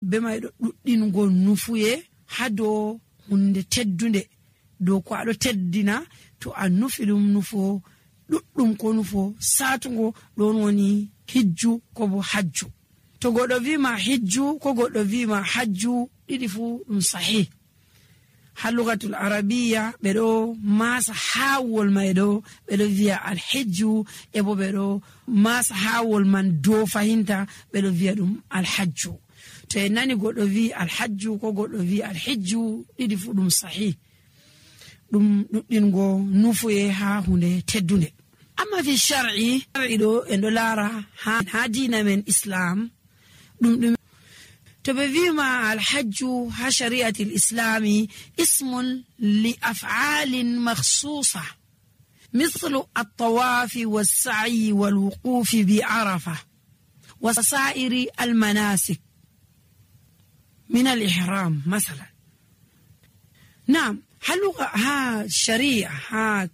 be mai do duddingo nufuye hado hunde teddunde do ko ado teddina to a nufi dum nufo duddum ko nufo satungo don woni hijju ko bo hajju. To godo wi ma hijju ko godo wi ma hajju didi fu dum sahih. Ha lugatul arabiyya be do masa hawol mai do be do wi'a al hijju e bo be do masa hawol man do fahinta be do wi'a dum al hajju. To en nani godo wi al hajju ko godo wi al hijju didi fu dum sahih. Dum duddingo nufuye ha hunde teddunde. Amma fi shar'i do en do lara ha dina men islam dum تبذيما الحج ها شريعة الإسلام اسم لأفعال مخصوصة مثل الطواف والسعي والوقوف بعرفة وسائر المناسك من الإحرام مثلا. نعم هل ها شريعة ها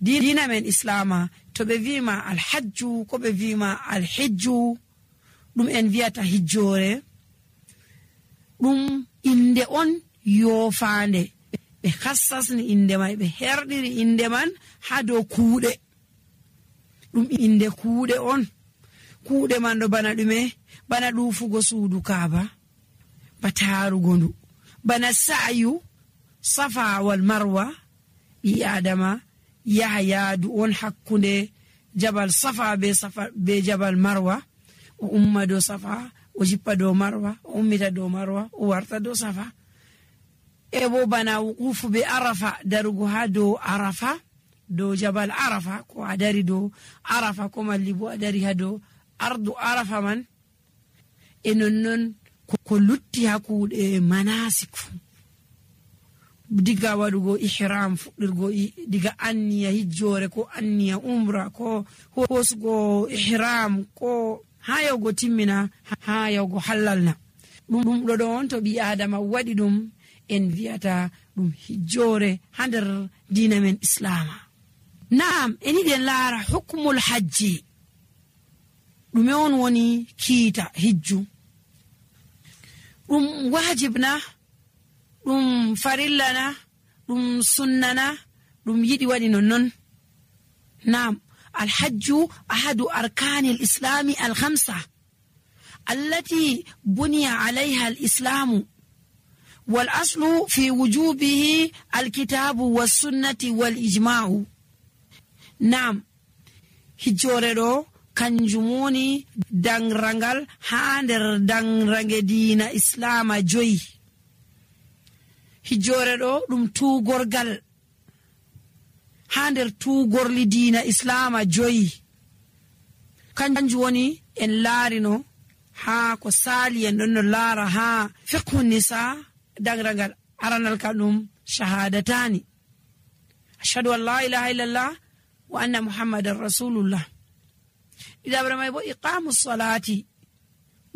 دين من إسلام تبذيما الحج كبذيما الحج دم أنفيات هجوري dum inde on yofande be khassasni inde mai be herdiri inde man ha do kuude dum inde kuude on kuude man do bana dume bana dufugo suudu kaaba batarugo ndu bana sa'yu safa wal marwa bi adama yahya du on hakkunde jabal safa be jabal marwa o umma do safa o jippa do marwa o ummita do marwa o warta do safa e bo bana wuqufu be arafa darugo ha do arafa do jabal arafa ko adari do arafa ko malli bo adari ha do ardu arafa man e nonnon ko lutti hakude manasik diga wadugo ihram fudirgo diga anniya hijjore ko anniya umra ko hosgo ihram ko hayogo timmina hayogo halalna dum do don to bi adama wadi dum en viata dum hijjore hander dina men islama. Naam eni den lara hukmul hajji dum on woni kiita hijju dum wajibna dum farillana dum sunnana dum yidi wadi non. Naam الحج أحد أركان الإسلام الخمسة التي بني عليها الإسلام والأصل في وجوبه الكتاب والسنة والإجماع. نعم هجورو kanjumoni dangrangal hander dangrange dina islam joyi hijore do dum tugorgal hander tugorli dina islam joyi kanju woni en laarino ha ko sali en don laara ha fiqhu nisa dangrangal aranal kadum shahadatani ashhadu an la ilaha illallah wa anna muhammadar rasulullah idabra may bo iqamus salati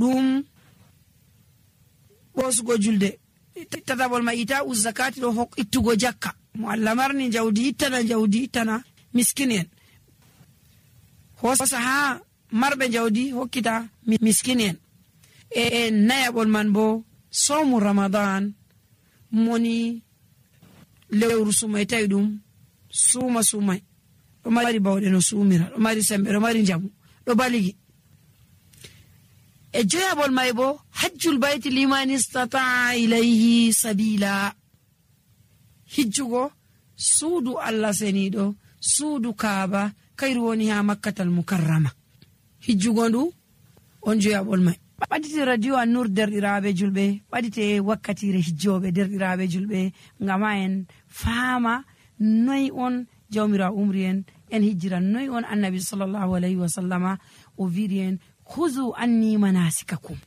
dum bosgo julde tatabol ma ita uz zakati do hok ittugo jakka muallamarni jawdi ittana miskinen hosa ha marbe jawdi hokkita miskinen e nayabol man bo somu ramadan moni lewru sumay taydum sumay do mari bawde no sumira do mari sembe do mari jamu do baligi e joyabol may bo hajjul bayti liman istata'a ilayhi sabila hijjugo suudu Allah senido suudu kaaba kayru woni ha makkatal mukarrama hijjugo ndu on joyabol may badite radio an-nur derdirabe julbe badite wakkatire hijjobe derdirabe julbe ngama en faama noy on jawmira umrien en hijran noy on annabi sallallahu alaihi wasallama o virien khuzu anni manasikakum